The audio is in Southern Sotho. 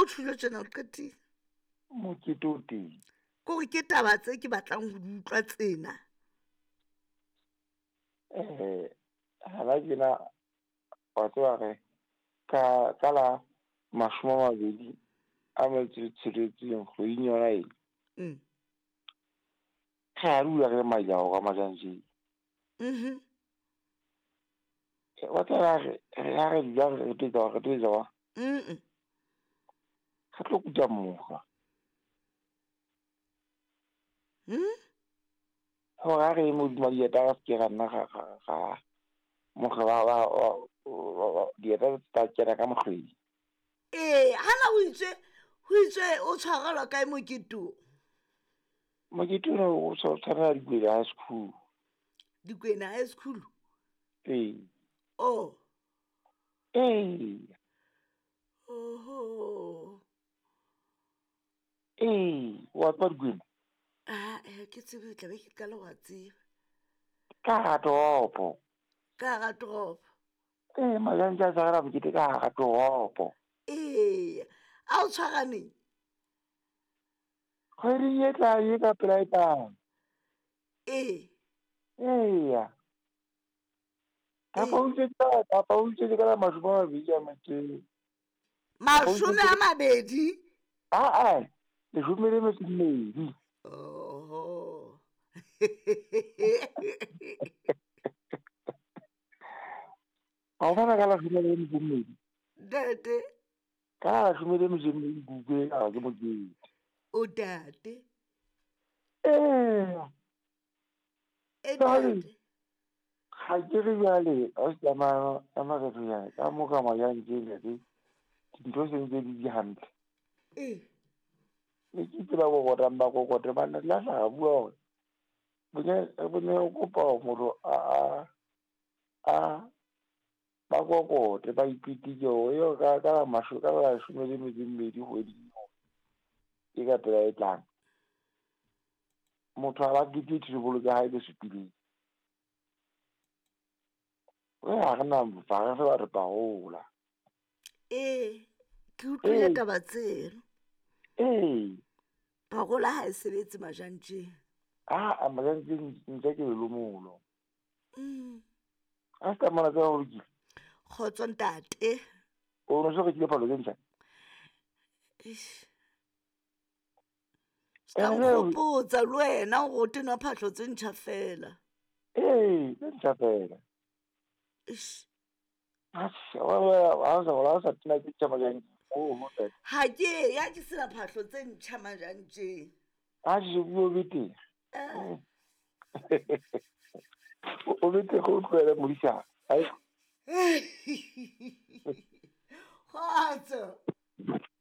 tjholo tjena o qetile. Mokete o teng. Ke hore ke taba tse ke batlang ho di utlwa tsena. Hana tjena wa tseba re ka la 26 kgweding yona e. Re a dula re majao ka majantjeng. Wa tseba re ha re dula re tlo wa. Re tlo kuta mokgwa. Hore ha re modimo dieta ra se ra nna ra mokgwa wa dieta tsa kena ka mokgweng. Ee, hana ho itswe o tshwarelwa kae mokete o? Mokete o tshwarelwa Dikwena High School. Dikwena High School? Ee. Oh. Ee. Oho. Ee, wa tseba Dikwena? Ah, ke tsebe tla be ke qala wa tseba. Ka hara toropo. Ka hara toropo. Ee, majantja a tshwarela mokete ka hara toropo. Ee, a o tshwaraneng? Kgweding e tlang e ka pela e tlang. Ee. Eya. Kapa o utswetse ka la 22. 20? Aa, 12. Oho. Ha o bona ka la 12. Ntate. Ka 12 kuke a ke mokete. O tate. Ee. Ntate. Ha ke re jwale, a se tsamaya re jwale ka mo ka majantjeng le dintho se ntse di di hantle. Ee. Ne ke itse ba kokotang ba kokote ba nna la tla bua hore bone o kopa motho a ba kokote ba ipitike hore eo ka la 12 kgweding e ka pela e tlang. Motho a ba kete tebolo tsa hae tse supileng. Re ha re na re se ba re parola. Ee, ke utlwile taba tseno. Ee. Parola ha e sebetse majantjeng. Ah, majantjeng ntse ke lomolo. A se mona tsa ho lokile. Kgotso ntate. O no se rekile phalo tse ntjha? Eish. Ska nkgopotsa le wena hore o tena phahlo tse ntjha fela. Ee, tse ntjha fela. Eish. Ha sa tena tse ntjha majantjeng. Ha ke ya ke sena phahlo tse ntjha majantjeng. Ha ke bua bete. O bete go tlohela modisa. Ai.